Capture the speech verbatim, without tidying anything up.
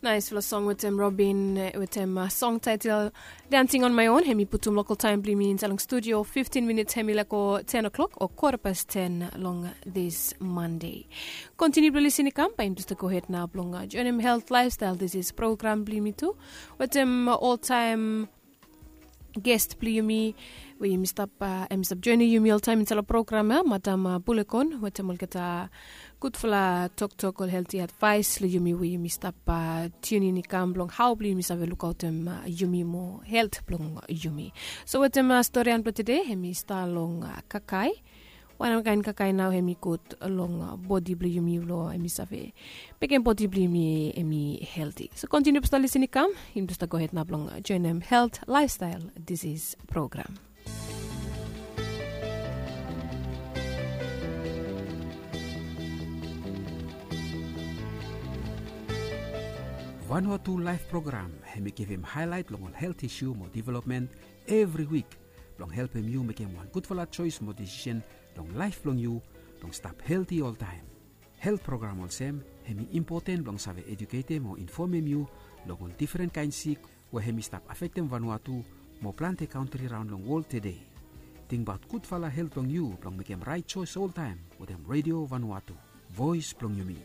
Naisfala song wetem Robin, wetem song taitel Dancing on My Own. Hemi putum lokal taem blong yumi insaed long studio. Fiftin minits hemi laek go ten o'clock o kota pas ten long this Monday. Kontiniu blong lisin i kam, bae yumi jes gohed nao blong joenem Health Lifestyle Disease program blong yumi tu wetem oltaem ges blong yumi we yumi stap, hemi stap joenem yumi oltaem insaed long program ya, Madam Bulekon, wetem olgeta gudfala toktok o helti advaes long yumi we yumi stap tiunin i kam blong hao blong yumi save lukaotem yumi moa, helt blong yumi. So wetem storian blong tede hemi stap long kakae. Wanem kaen kakae nao hemi gud long bodi blong yumi, long hemi save mekem bodi blong yumi hemi helti. So kontiniu blong stap lisin i kam, yumi blong stap gohed nao blong joenem Health Lifestyle Disease program. Vanuatu Laef program hemi givim haelaet long ol helt isu mo developmen evri wik blong helpem yu mekem wan gudfala joes mo desisen long laef blong yu blong stap helti oltaem. Helt program olsem hemi impoten blong save ejuketem o infomem yu long ol difren kaen sik we hemi stap afektem Vanuatu mo plante kantri raon long wol tede. Tingbaot gudfala helt blong yu blong mekem raet joes oltaem wetem Redio Vanuatu, voes blong yumi.